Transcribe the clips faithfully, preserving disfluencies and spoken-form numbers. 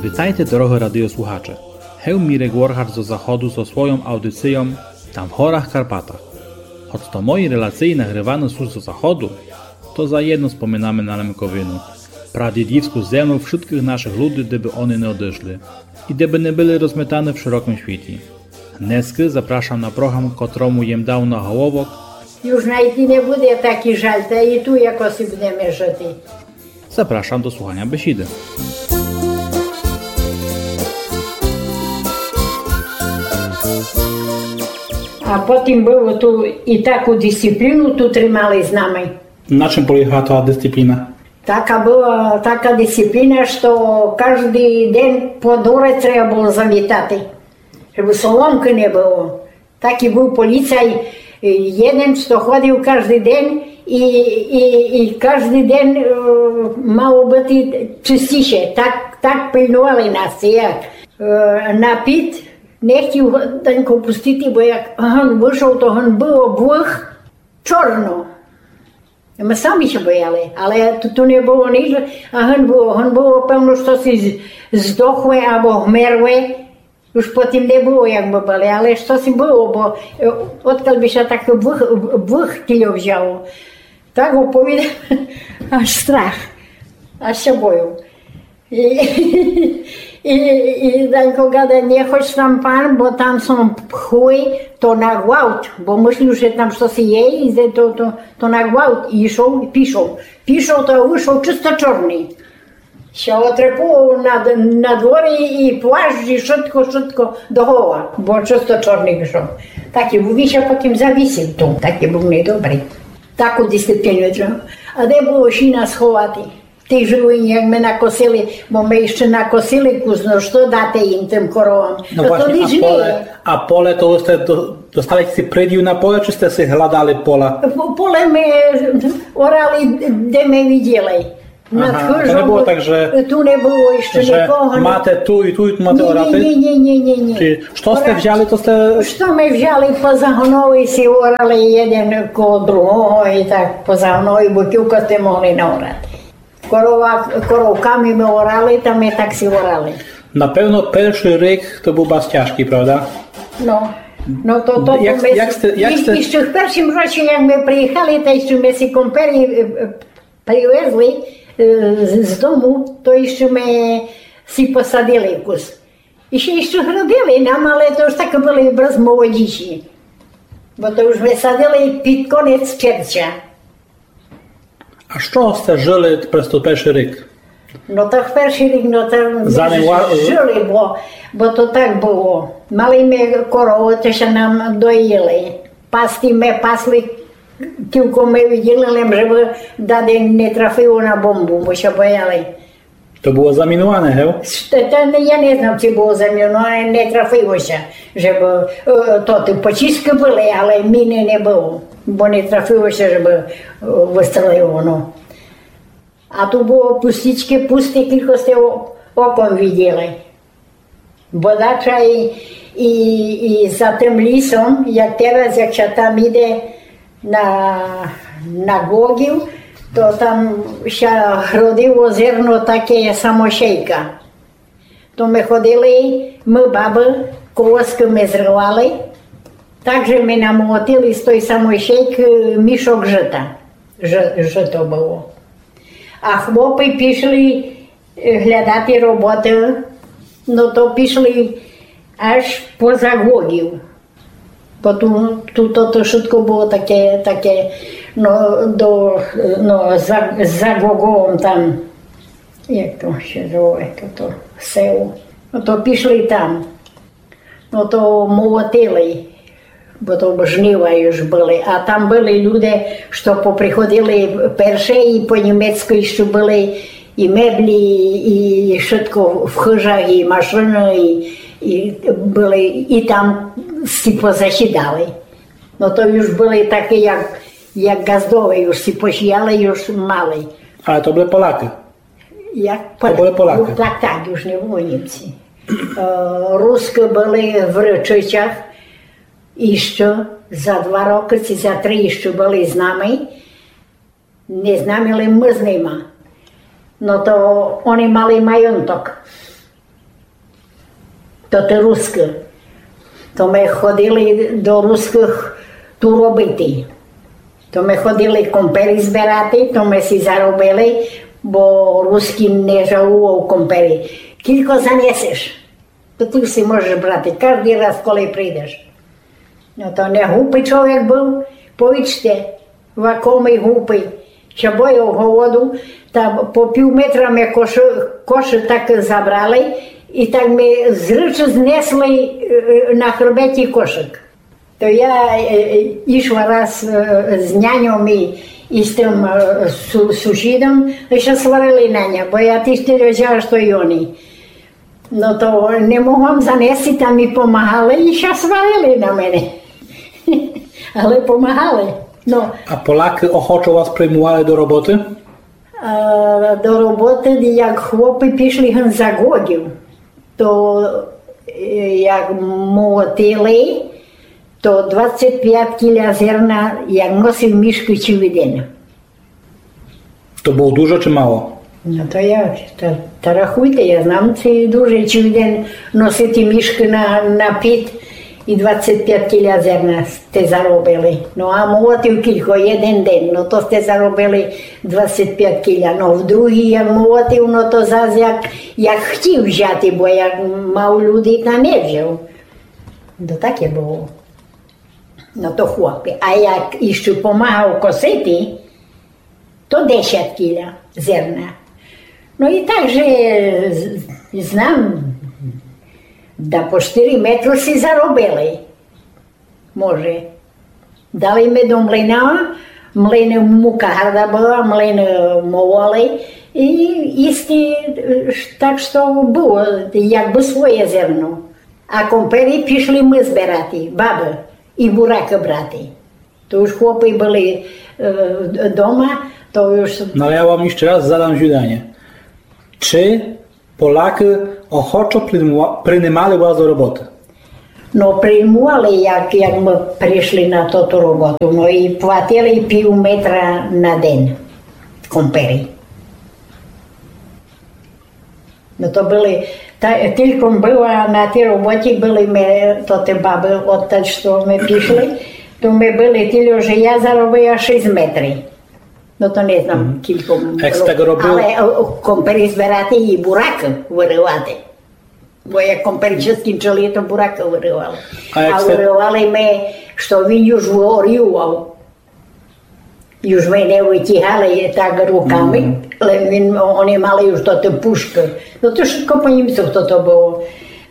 Витайте, дорогы радиослухаче. Гев Мірек Воргач зо заходу зо свойом аудицийом «Там в горах Карпатах». Гоц то мої релациї нагрываны сут зо заходу, то заєдно споминаме на Лемковину, прадїдівску землю вшыткых нашых люди, де бы они не одышли и де бы не были розметаны в широкым світі. Днеска запрашам на програм, котрому єм дав наголовок: Юж найти не буде, такій жаль, та и ту якоси будеме жыти. Запрашам до слуханя бесіды. А потім было ту и таку дисципліну ту тримали з нами. На чым полягала та дисципліна? Така была, така дисципліна, што каждый ден по дворе треба было завітати, жебы соломкы не было. Такій быв поліцай, е, єден, што ходив каждый ден и, и, и каждый ден, е, мало быти чыстіше. Так, так пильнували нас, ци як. Е, на піт не хтів Данько пустити, бо як гын вышов, то гын было двох чорно. Мы самі ся бояли, але ту, ту не было нич, а гын было, гын было певно штоси з-, здохле або вмерле. Уж потім не было, як бы были, але штоси было, бо, е, одкаль бы ся так вых-, вых тільо взяло. Так оповідам, аж страх, аж ся бою. И, и, и Данько гада: «Не ходь там, пан, бо там сут пхлы, то на гвалт, бо мыслів, же там штоси є, и же то, то, то на гвалт». И йшов, и пішов. Пішов, то вышов чысто чорный. Ся отрепував на, на дворі и плащ, и вшытко, вшытко до гола, бо чысто чорный вышов. Такій быв, и ся потім завісив ту, такій быв недобрый. Таку дисципліну треба. А де было сіна сховати? Тых жолудь, як мы накосили, бо мы іщы накосили кус, но што дати їм, тым коровам? Но власьні, а поле, а поле, то сте до-, достали сі приділ на поле, чи сте сі гладали поля? По-, поле мы орали, де мы виділи. Ага, то не было так, же, ту не было іщы же нікого, мате ту и ту, и ту мате орати? Ні, ні, ні, ні, ні. Чи што сте взяли, то сте... Што мы взяли, позагоновали сі, орали єден коло другого и так позагоновали, бо кілько сте могли наорати. Корова, коровками мы орали, та мы так сі орали. Напевно, першый рік то быв барз тяжкый, правда? Но, но то, то як, то мы як сте, як сте... Іщы в першім році, як мы приїхали, та іщы мы сі компері, е, е, привезли, е, з, з дому, то іщы мы сі посадили кус. И ще, іщы гродили нам, але то уж такы были барз молодіші. Бо то уж мы садили під конець червця. А з чого сте жыли през тот першый рік? Но так першый рік, но то жыли, бо, бо то так было. Мали мы коровы, то ся нам доїли. Пасти мы пасли, кілько мы виділи, лем жебы дати не трафило на бомбу, бо ся бояли. То было замінуване, гев? Та, та не, я не знам, ци было замінуване, не трафило ся, жебы, е, то ты почисткы были, але міны не было, бо не трафило ся, жебы, е, выстрелило, но. А ту было пустічкы, пусты, кілько сте о-, оком виділи. Бодача и, и, и за тым лісом, як тераз, як ся там іде на, на Глогів, то там ся гродило зерно таке самосійка. То мы ходили, мы, бабы, колоскы мы зривали, так же мы намолотили з той самосійкы мішок жыта. Жы-, жыто было. А хлопы пішли, е, глядати роботы, но то пішли аж поза Глогів. Бо ту, ту то, то вшытко было таке, таке, но, до, но, за, за Глоговом там, як то ся звало, як то, то село. Но то пішли там. Но то молотили, бо то жнива уж были. А там были люде, што поприходили перше, и по німецку іщы были и меблі, и вшытко в хыжах, и машыны, и, и были, и там сі позасідали. Но то уж были такы, як, як ґаздове, уж сі посіяли, уж мали. Але то были Полякы? Як... То были Полякы. Так, так, уж не были Німці. Е, Рускы были в Рычичах, іщы за два рокы, ци за три іщы были з нами. Не з нами, лем мы з нима. Но то они мали маёнток. То ти рускі. То ми ходили до русскых ту робити. То ми ходили компери збирати, то ми си заробили, бо рускі не жалував компери. Кілько занесеш, то ти си можеш брати каждый раз, коли прийдеш. Но то не глупый чоловік быв, повічте, вакомый глупый. Ся бояв голоду, та по пів метра ми кошы, кошы так забрали, і так ми з речы знесли, е, на хребеті кошык. То я, е, е, ішла раз, е, з няньом і, і з тым, е, су-, сусідом, і ся сварили на ня, бо я тіж тілько взяла, што й они. Но то не могла м занести, та ми помагали і ся сварили на мене. Але помагали. Но. А Полякы охочо вас приймували до роботы? А, до роботы, як хлопы пішли гын за ґодів, то, е, як молотили, то двадцять пять кіля зерна, як носив мішкы цілый ден. То было дуже ци мало? Но то як, та, та рахуйте, я знам, ци дуже, цілый ден носити мішкы на, на під і двадцять пять кіля зерна сте заробили. Но а молотив кілько, єден ден, но то сте заробили двадцять пять кіля. Но в другый як молотив, но то зас як, як хтів взяти, бо як мав люди, та не взяв. Но таке было. Но то хлопы. А як іщы помагав косити, то десять кіля зерна. Но і так же з-, знам, да по штыри метры си заробили. Може. Дали ми до млина, млины мука гарда была, млины мололи, і їсти, е, так што было, якбы своє зерно. А компери пішли мы збирати, бабы, і буракы брати. То уж хлопы были, е, дома, то уж... Но але я вам іщы раз задам звіданя. Ци Полякы охочо приймува-, приймали вас до роботы? Но, приймували, як, як мы пришли на тоту роботу, но і платили пів метра на ден компери. Но то были, та, тілько м была на тій роботі, были ми, то тоты бабы, одталь, што ми пішли, то ми были тілько, же я заробила шість метрів. Но то не знам, кілько м... Як сте так робили? Але, о, о, компери збирати і буракы вырывати. Бо як компери ся скінчили, то буракы вырывали. А як сте... вырывали ми, што він уж виорював. Уж ми не вытягали так руками, лем він, о-, они мали уж тоты пушкы. Но то вшытко по німцох тото было.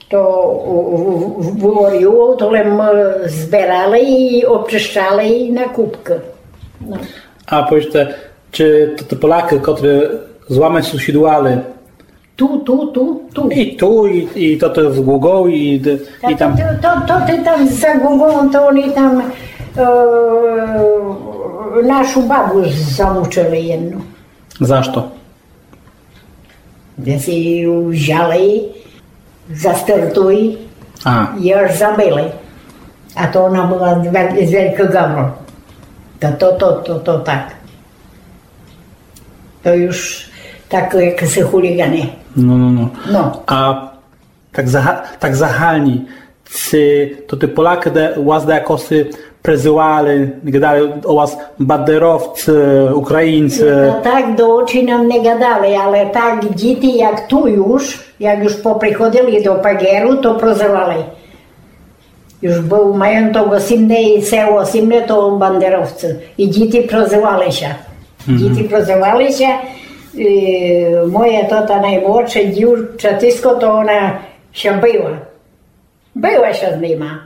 То у-, у-, у-, виорював, то лем мы збирали і обчищали і на купкы. Но. А повіджте, ци то, тоты Полякы, котры з вами сусідували, Ту, ту, ту, ту. І ту, і, і то, то з Ґуґов, і д-, і там. Та то, то, то, то ты там за Ґуґов, то они там, е, нашу бабу замучили єдну. За што? Десь її взяли, застертуй, а, і аж забили. А то она была з вел-, з Велького Гавру. Та то, то, то, то так. То уж так, як сі хуліґаны. Но, но, но. Но. А так зага-, так загальні, ци тоты Полякы де-, вас дакоси призывали, гадали о вас бандеровци, українци? Та так до очі нам не гадали, але так діти, як ту уж, як уж поприходили до паґеру, то прозывали. Уж быв маєток осімдесят, село осімдесят, то бандеровци. І діти прозывали ся. Діти прозывали ся. Е, моє то та наймладше дівчатисько, то она ся била. Била ся з нима.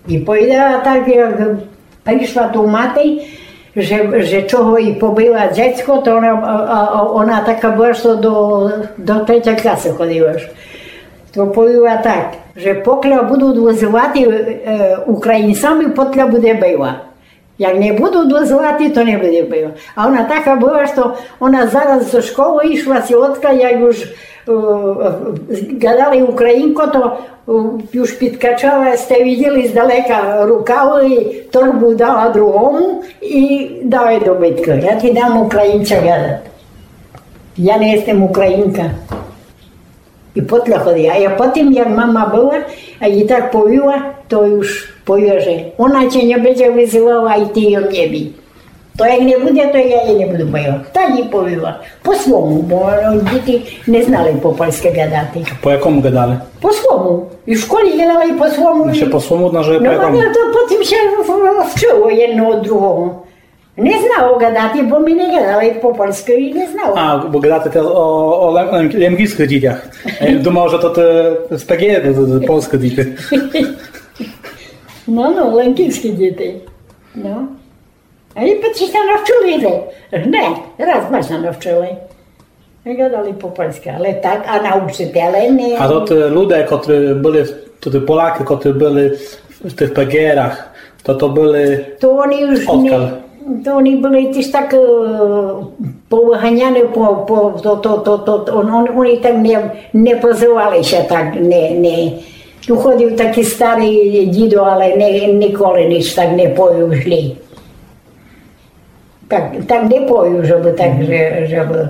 І повідала так, як пришла ту мати, же, же чого й побила дзецько, то она, а, а, а она така была, што до, до третьой класы ходила. То повіла так, же покля будуть вызывати, е, українцами, покля буде била. Як не будуть вызывати, то не буде била. А она така была, што она зараз зо школы ішла, сі одка, як уж, е, гадали українко, то, е, уж підкачала, сте виділи здалека рукавы, торбу дала другому і дала до биткы. Я ти дам українця гадати. Я не єстем українка. І потім ходила. А потім, як мама была, а їй так повіла, то уж повіла, же она тя не буде вызывала, і ты її не бий. То як не буде, то я її не буду была. Так їй повіла. По свому, бо, е, діти не знали по польскы гадати. По якому гадали? По свому. І в школі гадали по свому. Ще по свому, но, же по якому? Но, то потім ся в-, в-, вчыло єдно од другого. Не знало гадати, бо мы не гадали по польскы і не знало. А, бо гадате тераз о, о лем-, лем-, лемківскых дітях. Я думав, же то, то з П Г, то, то, то польскы діти. Но, но, лемківскы діти. Но. А і потім ся навчыли, же. Не, раз мы ся навчыли. Мы гадали по польскы, але так, а научителе не. А то ті люде, котрі были, то ті Полякы, котрі были в тых П Г Р-ах, то, то были... То они уж не, то они были тіж так, е, повыганяны, по, по, то, то, то, то, он, он, они так не, не позывали ся так, не, не. Ту ходив такій старый дідо, але не, ніколи ніч так не повів зле. Так, так не повів, жебы так, же, жебы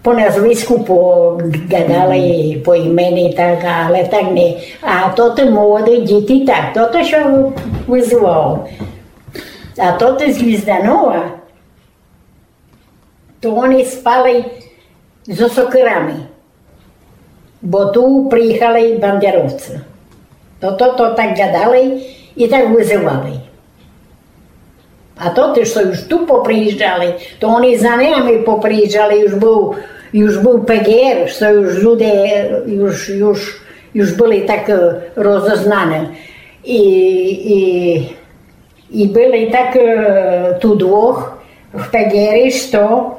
по назвиску, по, гадали, по імени, так, але так не. А то ті молоды діти так, то, то ся вызывало. А то ті з Гвізданова, то они спали зо сокырами. Бо ту приїхали бандеровці. То, то, то так гадали і так вызывали. А то ті, што уж ту поприїжджали, то они за нами поприїжджали, уж быв, уж быв П Г Р, што уж люде, уж, уж, уж были так, е, розознані. І, і І были так, е, ту двох в П Г Р-і, што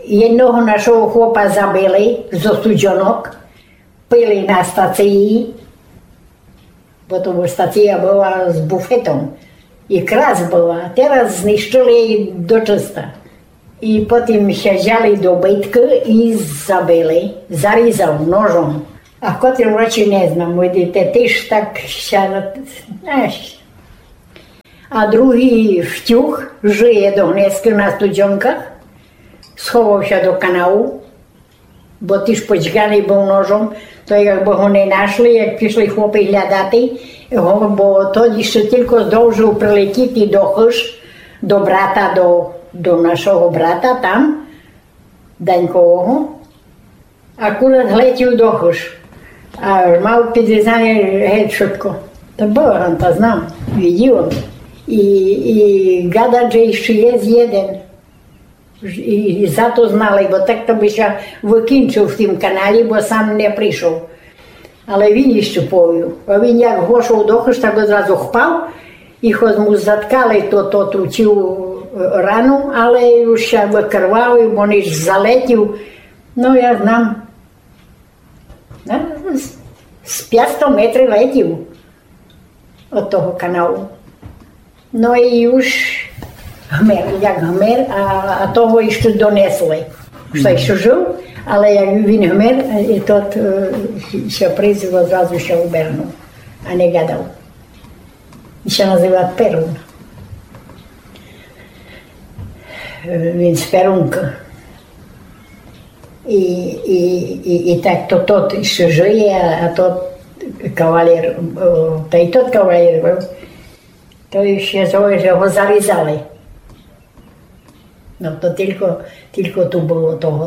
єдного нашого хлопа забили зо Студьонок, пили на стації, бо то стація была з буфетом. І крас была, тераз знищыли її дочыста. І потім ся взяли до биткы і забили, зарізав ножом. А в котрім році не знам, видите, тіж так ся, еш. А другій втюг, жыє до гнеска на Студзёнках, сховав ся до канаву, бо тіж потьганый быв ножом, то якбы го не нашли, як пішли хлопы глядати го, бо тот іщы тілько здовжыв прилетіти до хыж, до брата, до, до нашого брата там, Данькового. Акурат глетів до хыж. А мав підрізане геть вшытко. То была ранта, знам, виділа. І, і гадат, же іщы єст єден. І, і за то знали, бо так то бы ся выкінчыв в тім каналі, бо сам не пришов. Але він іщы повів. А він як вошов до хыж, так одразу впав, і хоц му заткали то, то, ту цілу, е, рану, але уж ся выкрвавив, бо лиш залетів. Но, я знам, на, з, з пятсто метрів летів од того каналу. Но і уж гмер, як гмер, а, а того іщы донесли. Што іщы жыв, але як він гмер, і тот, е, ся призив, зразу ся обернув, а не гадав. Він ся называв Перун. Е, він з Перунка. І, і, і, і так то тот іщы жыє, а тот кавалер, о, та й тот кавалер быв. То іщы зоє, же го зарізали. Но то тілько, тілько ту было того.